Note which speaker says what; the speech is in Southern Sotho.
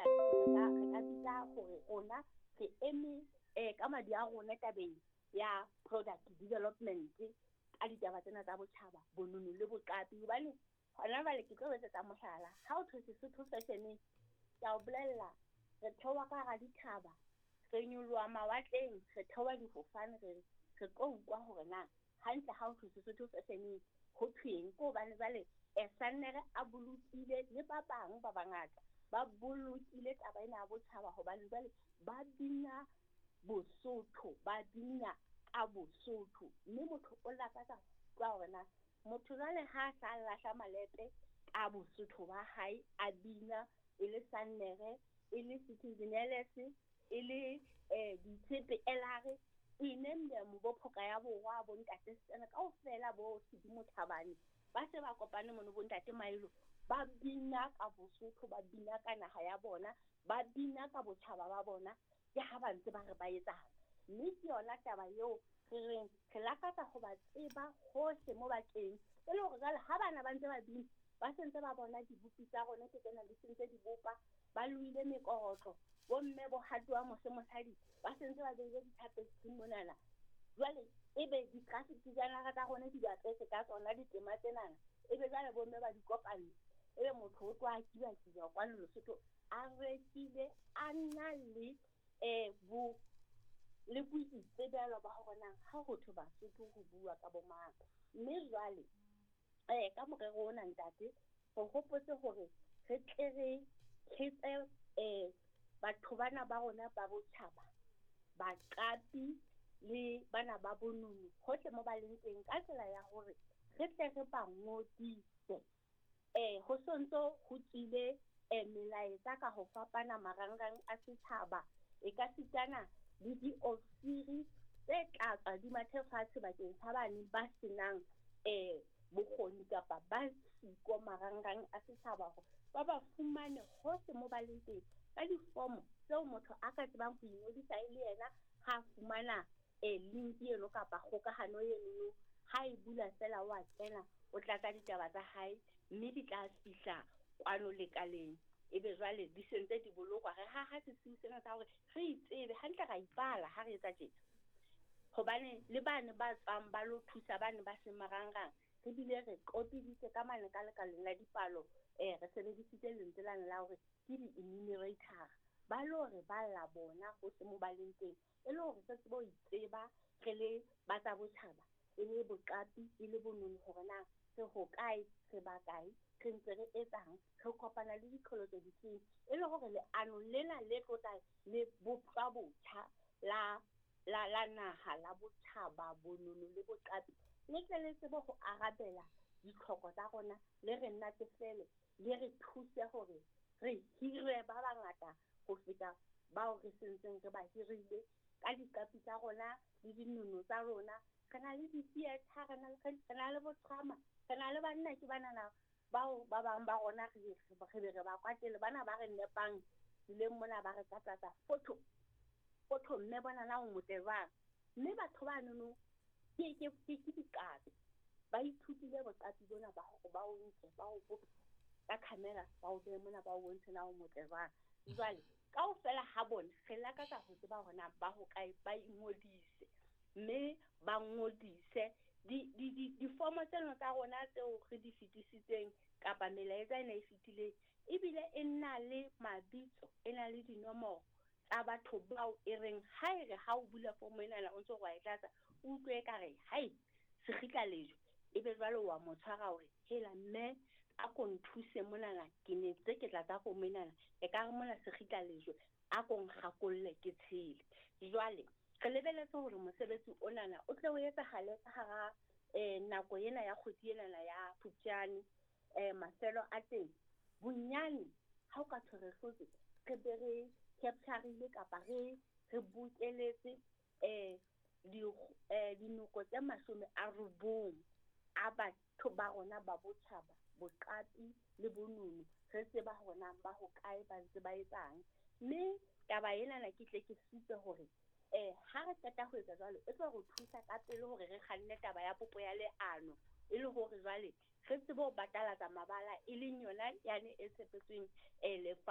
Speaker 1: Ntate, re ka bitsa hore rona re eme ka madi a rona tabeng ya product development ka ditaba tsena tsa botjhaba, bonono le boqapi. Hobane hona jwale ke tlo etsetsa mohlala, ha o thwe Sesotho fashion, ke a o bolella, re theoha ka hara dithaba, re nyoloha mawatleng, re theoha difofane, re tlo utlwa hore na hantle ha o thwe Sesotho fashion ho thweng. Ke hobane jwale Sannere a bolokile le ba bang ba bangata ba bolokile taba ena ya botjhaba, hobane jwale ba bina Bosotho, ba bina ka Bosotho, mme motho o lakatsa utlwa hore na motho jwale ha sa lahla malepe ka Bosotho ba hae, a bina e le Sannere, e le Citizen Ellis, e le Ditshepe Elare, we name them, bo Phoka ya Borwa, bo Ntate Sena kaofela, bo Sedimo Thabane, ba se ba kopane mono, bo Ntate Mailo, ba bina ka Bosotho, ba bina ka naha ya bona, ba bina ka botjhaba ba bona, ke ha ba ntse ba re ba etsang. Mme ke yona taba eo re reng re lakatsa ho ba tseba hohle mo ba teng, e le hore jwale ha bana ba ntse ba bina, ba sentse ba bona dibopi tsa rona ke tsena di sentse di bopa, ba loile mekorotlo, bomme bo hatowa mose mosadi, ba sentse ba beile di-tapestry monana. Jwale ebe di-graphic designer tsa rona di bapetse ka tsona ditema tsenana, ebe jwale bomme ba di kopantse, ebe motho o tloha kiba-kiba kwano Lesotho a rekile, a na le bo le boitsebelo ba hore na ha ho thwe Basotho ho bua ka bo mang. Mme jwale ka morero ona, ntate, re hopotse hore re tle re thetse batho bana ba rona ba botjhaba, baqapi le bana ba bonono hohle mo ba leng teng, ka tsela ya hore re tle re ba ngodise. Ho sontso ho tswile melaetsa ka ho fapana marangrang a setjhaba, e ka sitana le diofisiri tse tla tswa di mathe fatshe bakeng sa bane ba senang bokgoni kapa ba siko marangrang a setjhaba, hore ba ba fumane hohle mo ba leng teng ka difomo tseo motho a ka tsebang ho ingodisa e le yena ha fumana link eno kapa kgokahano eno, ha e bula fela wa kena, o tlatsa ditaba tsa hae, mme di tla fihla kwano lekaleng, ebe jwale di sentse di bolokwa. Re haha sesiu sena sa hore re itsebe hantle, ra ipala ha re etsa tjena, hobane le bane ba tswang ba lo thusa bane ba seng marangrang, re bile re qopiditse ka mane ka lekaleng la dipalo, re sebedisitse lentswe lane la hore ke di-enumerator, ba lo re balla bona hohle mo ba leng teng, e le hore re tsebe ho itseba re le ba tsa botjhaba, e le boqapi, e le bonono, hore na re hokae, re ba kae, re ntse re etsang, re kopana le diqholotso difeng, e le hore leano lena le tlotla le boptjwa botjha la la la naha la botjhaba, bonono le boqapi, le tle le tsebe ho arabela ditlhoko tsa rona, le re natefele, le re thuse hore re hire ba bangata ho feta bao re sentseng re ba hirile ka diqapi tsa rona le dinono tsa rona. Re na le di-theatre, re na le botrama, re na le banna ke banana bao ba bang ba rona re be re ba kwatele, bana ba re nepang tseleng mona, ba re tlatlatsa photo photo, mme bona na o motle jwang. Mme batho ba nono ke diqapi, ba ithutile boqapi bona ba hore ba o nke, ba o bope ka camera, ba o behe mona, ba o bontshe na o motle jwang. Jwale kaofela ha bona re lakatsa ho tseba hore na ba hokae, ba ingodise, mme ba ngodise difomo tseno tsa rona tseo re di fetisitseng kapa melaetsa ena e fetileng, ebile e na le mabitso, e na le dinomoro tsa batho bao e reng ha e re ha o bula fomo enana o ntso wa e tlatsa, o utlwe ekare hai sekgitla lejwe, ebe jwale wa mo tshwara hore hela mme a ko nthuse monana, ke ne tse ke tlatsa fomo enana, e ka re mona sekgitla lejwe, a ko nkgakolle ke tshele. Jwale re lebeletse hore mosebetsi onana o tle o etsahale ka hara nako ena ya kgwedi enana ya Phupjane, mafelo a teng bonyane ha o ka thwe re hlotse, re be re capture-ile kapa re bokeletse dinoko tse 90 a batho ba rona ba botjhaba, boqapi le bonono, re tseba hore na ba hokae, ba ntse ba etsang. Mme taba enana ke tle ke supe hore ha re qeta ho etsa jwalo, e tlo re thusa ka pele hore re kganne taba ya popo ya leano, e le hore jwale re tsebe ho batalatsa mabala, e leng yona yane e tshepetsweng lefa.